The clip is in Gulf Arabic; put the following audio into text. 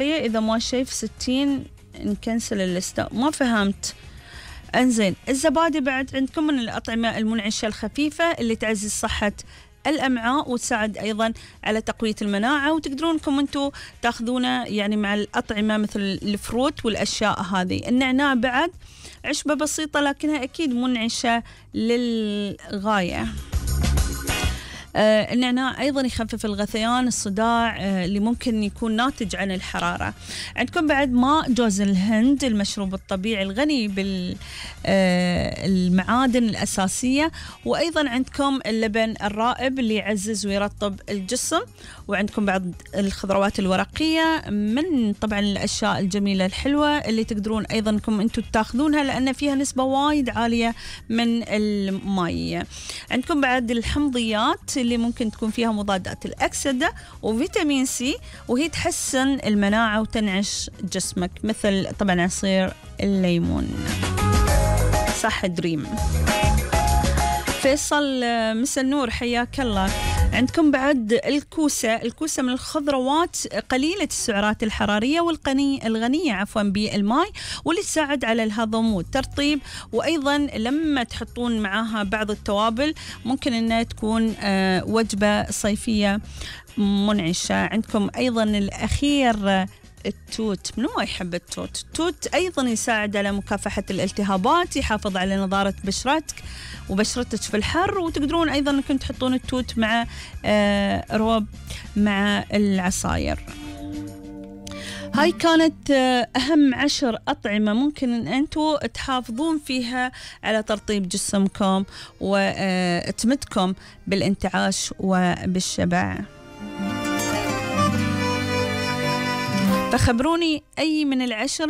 إذا ما شايف 60 نكنسل الليستة. ما فهمت. انزين، الزبادي بعد عندكم من الأطعمة المنعشة الخفيفة اللي تعزز صحة الأمعاء وتساعد أيضا على تقوية المناعة، وتقدرون انكم انتم تاخذونه يعني مع الأطعمة مثل الفروت والأشياء هذه. النعناع بعد عشبة بسيطة لكنها أكيد منعشة للغاية. النعناع أيضا يخفف الغثيان، الصداع اللي ممكن يكون ناتج عن الحرارة. عندكم بعد ماء جوز الهند، المشروب الطبيعي الغني بالمعادن الأساسية، وأيضا عندكم اللبن الرائب اللي يعزز ويرطب الجسم. وعندكم بعد الخضروات الورقية من طبعا الأشياء الجميلة الحلوة اللي تقدرون أيضا انكم انتم تاخذونها لأن فيها نسبة وايد عالية من المائية. عندكم بعد الحمضيات اللي ممكن تكون فيها مضادات الأكسدة وفيتامين سي، وهي تحسن المناعة وتنعش جسمك، مثل طبعا عصير الليمون. صح دريم. فيصل مسا النور، حياك الله. عندكم بعد الكوسة من الخضروات قليلة السعرات الحرارية الغنية بالماء، واللي تساعد على الهضم والترطيب. وأيضا لما تحطون معاها بعض التوابل ممكن أنها تكون وجبة صيفية منعشة. عندكم أيضا الأخير التوت، منو ما يحب التوت؟ التوت أيضا يساعد على مكافحة الالتهابات، يحافظ على نضارة بشرتك وبشرتك في الحر. وتقدرون أيضا أنكم تحطون التوت مع روب مع العصاير. هاي كانت أهم 10 أطعمة ممكن أن أنتوا تحافظون فيها على ترطيب جسمكم وتمدكم بالانتعاش وبالشبع. فخبروني أي من 10